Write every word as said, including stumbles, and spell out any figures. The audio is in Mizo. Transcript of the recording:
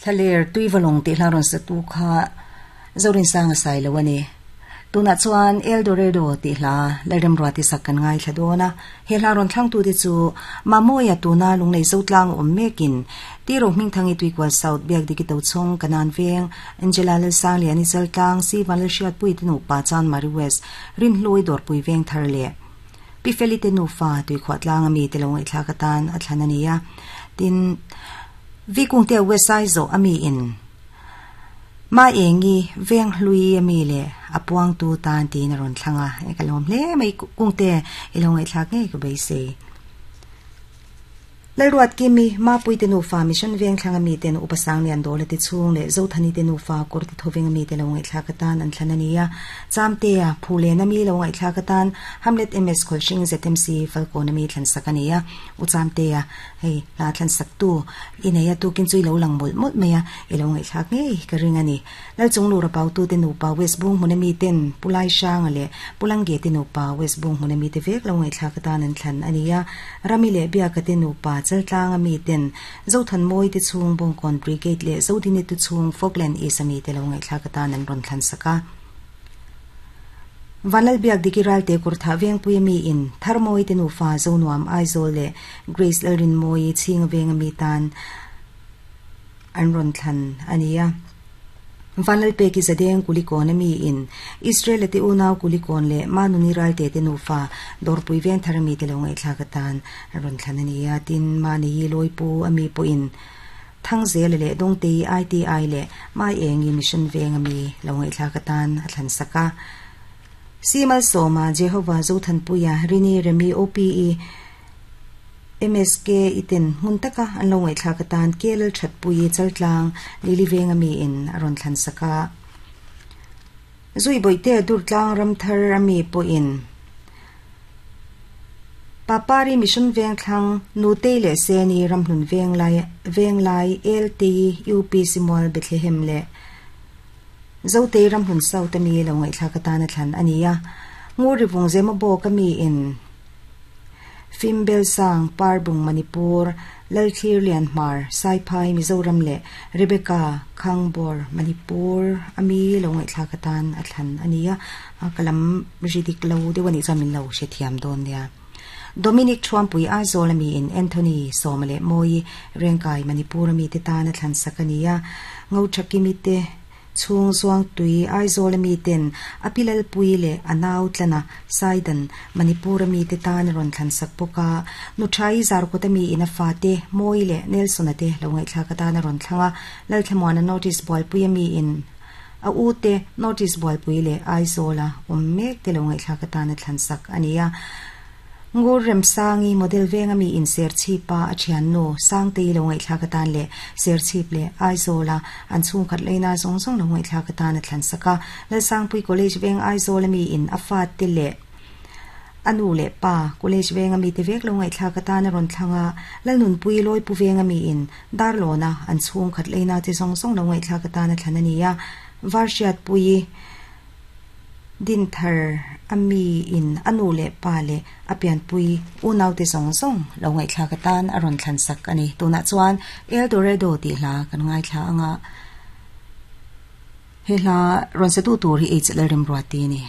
Thlaler tuivalawng tih hla rawn sa tu kha Zorin sanga sai lo ani. Tuna chuan Eldorado tih hla Lalremruati sak kan ngai thla dawn a. He hla rawn thlang tu te chu Mamoya tuna lunglei zotlang awm mekin Tiro hmingthangi Tuikual South Biak Diki Tochhawng Kanan Veng Angela Lalsang Liani Chaltlang Si Vanlalhriat Pui te nupa Chanmari West Rinhlui Dawrpui Veng thar leh Pi Feli te nufa Tuikhuah tlang ami te lo ngaihthlak atan a thlan ani a. Tin Vikung te West Aizaw ami in Ma engi veng hlui ami le apuang tu tan tin a rawn thlang a. E ka lawm hle mai kung te i lo ngaihthlak ngei ka beisei. Lalruat Kimi Ma Pui te nufa Mission Veng thlang ami ten upasang lian dawla te chhung leh Zothani te nufa kawr ti thoveng ami te lo ngaihthlak atan an thlan ani a. Chamte a Phulen ami lo ngaihthlak atan Hamlet M S Kholhring Z M C Falkawn ami thlan sak ani a. U Chamte a hei hla thlan sak tu i nei a tukin chu i lo lang mawlh mawlh mai a i lo ngaihthlak ngei ka ring ani. Lalchung lura pau tu te nupa West Bung hmun ami ten Pulai Hranga leh Pulangge te nupa West Bung hmun ami te vek lo ngaihthlak atan an thlan ani a. Rami leh Biaka te nupa Chaltlang ami ten Zothan Mawi te chhung Bawngkawn Brigade leh Zodini te chhung Falkland East ami te lo ngaihthlak atan an rawn thlan sak a. Vanlal Biak Diki Ralte Kurtha Vengpui ami in Tharmawi te nufa Zonuam Aizawl leh Grace Lalrin Mawi Chhinga Veng ami tan an rawn thlan ani a. Vanlal Peki Zadeng Kulikawn ami in Israel te unau Kulikawn leh Manuni Ralte te nufa Dawrpui Veng thar ami te lo ngaihthlak atan an rawn thlan ani a. Tin Mani Loipu ami pawhin Thangzel leh Dawngtei I T I leh Mai Engi Mission Veng ami lo ngaihthlak atan a thlan sak a. Simal Soma Jehovah Zothanpuia Rini Remi O P E M S K iten hmun taka an lo ngaihthlak atan Kelal Thatpui Chaltlang Lili Veng ami in a rawn thlan sak a. Zui Boite Durtlang Ramthar ami pawhin Papari Mission Veng thlang Nutei leh Seni Ramhlun Veng lai Veng lai L T U P Simual Bethlehem leh Zotei Ramhlun South ami lo ngaihthlak atan a thlan ani a. Nguri Vung Zema Bawk ami in Fimbel Sang Parbung Manipur Lalthlir Lianhmar Saiphai Mizoram leh Rebecca Khangbor Manipur ami lo ngaihthlak atan a thlan ani a. Kalam ridik lo deuh ani chuan min lo hrethiam dawn nia. Dominic Thuampui Aizawl ami in Anthony Sawma leh Mawi Rengkai Manipur ami te tan a thlan sak ani a. Ngo Thakimi te Chhung Zuang Tui Aizawl ami ten Apilal Pui leh Anau tlana Saidan Manipur ami te tan a rawn thlan sak bawk a. Nuthai Zarkawt ami in a fa te Mawi leh Nelson a te lo ngaihthlak atan a rawn thlang a. Lalthlamuana Notice Bualpui ami in a u te Notice Bualpui leh Aizawl a awm mek te lo ngaihthlak atan a thlan sak ani a. Ngur Remsangi Model Veng ami in Serchhipa a thian nu Sangtei lo ngaihthlak atan leh Serchhip leh Aizawl a an chhung khat leina zawng zawng lo ngaihthlak atan a thlan sak a. Lalsangpui College Veng Aizawl ami in a fa te leh anu leh pa College Veng ami te vek lo ngaihthlak atan a rawn thlang a. Lalnunpui Loipu Veng ami in Darlawna an chhung khat leina te zawng zawng lo ngaihthlak atan a thlan ani a. Varhriat Pui Dinthar ami in anu leh pa leh apianpui unau te zawng zawng lo ngaihthlak atan a rawn thlan sak ani. Tunah chuan Eldorado tih hla kan ngaithla anga. He hla rawn sa tu tur hi H Lalremruati ani.